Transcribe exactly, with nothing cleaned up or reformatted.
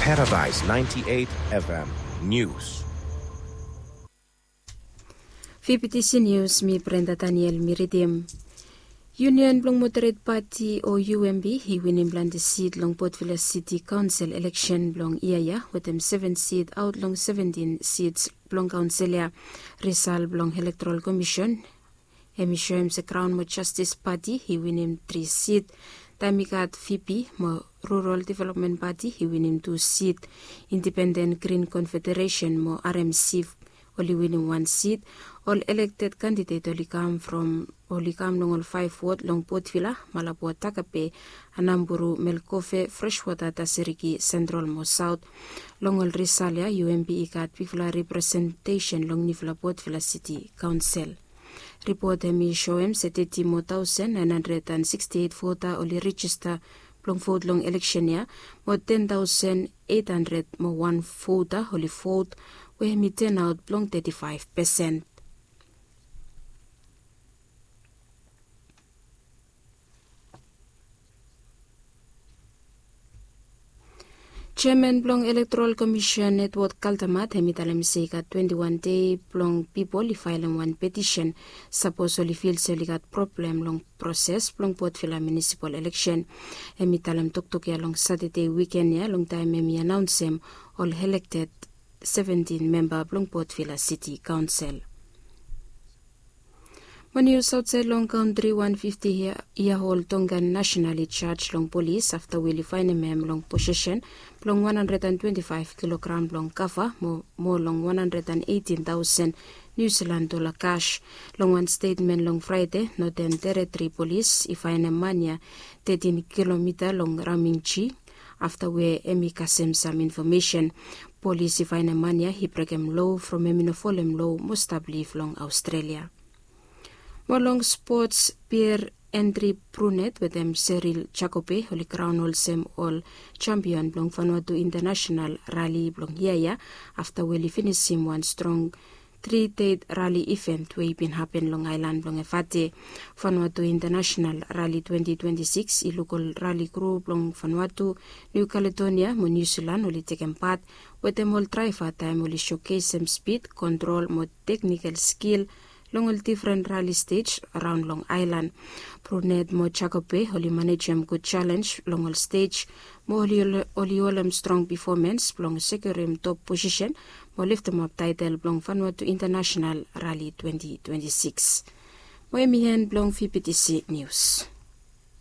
Paradise ninety-eight F M News. Fifty C News, mi Brenda Daniel mi ridim. Union blong Moderate Party o U M P i winim plante sit long Port Vila City Council eleksen blong yia ya, wetem seven sit aot long seventeen sits blong kaonsel ya. Risal blong Electoral Commission hem i soem se Crown mo Justice Party i winim tri sit, taem i gat V P mo Rural Development Party i winim tu sit, Independent Green Confederation mo R M C oli winim wan sit. Ol elected candidate oli kam from, oli kam long ol five ward long Port Vila, Malabo, Takape, Anamburu, Melkofe, Freshwater, Taseriki, Central mo South. Long ol risal ya, U M P i gat bigfala representation long niufala Port Vila City Council. Ripot hem i soem se teti mo taosen naen handred an siksti eit vota oli rejista blong vot long eleksen ya, mo ten taosen eit handred mo wan vota oli vot, we hem i turnout blong teti faef pesen. Jeaman blong Electoral Commission, Edward Kaltemat, hem i talem se i gat twenti wan dei blong pipol i faelem wan petisen, sapos oli fil se oli gat problem long proses blong Port Vila munisipal eleksen. Hem i talem toktok ya long Satade wiken ya, longtaem hem i anaonsem ol elected seventeen memba blong Port Vila City Council. Mo nius aotsaed long kantri, wan fifti yia ol Tongan nasenal i jaj long polis afta we oli faenem hem long posesen blong wan handred an twenti faef kilogram blong kava mo, mo long wan handred an eitin taosen Niu Silan dola kas. Long wan stetmen long Fraede, Noten Teretri Polis i faenem man ya tetin kilomita long Ramingji, afta we hem i kasem sam infomesen. Polis i faenem man ya i brekem lo from hem i no folem lo mo stap liv long Aostrelia. Mo long spots, Pierre Andri Brunet wetem Cyril Jacobe oli kraon olsem ol jampion blong Vanuatu International Rali blong yia ya, afta we oli finisim wan strong tri dei rali iven we i bin hapen long aelan blong Evate. Vanuatu International Rali twenti twenti sikis i luk ol rali kru blong Vanuatu, Niu Kaledonia mo Niu Silan oli tekem pat wetem ol draeva taem oli sokesem spid, kontrol mo teknikel skil long ol difren rali stej raon long aelan. Brunet mo Jacobe oli manejem gud jalenj long ol stej, mo oli, oli holem strong pefomens blong sekiurim top posisen mo leftemap taetel blong Vanuatu International Rali twenti twenti sikis. Mo hem i en blong V P T C Nius.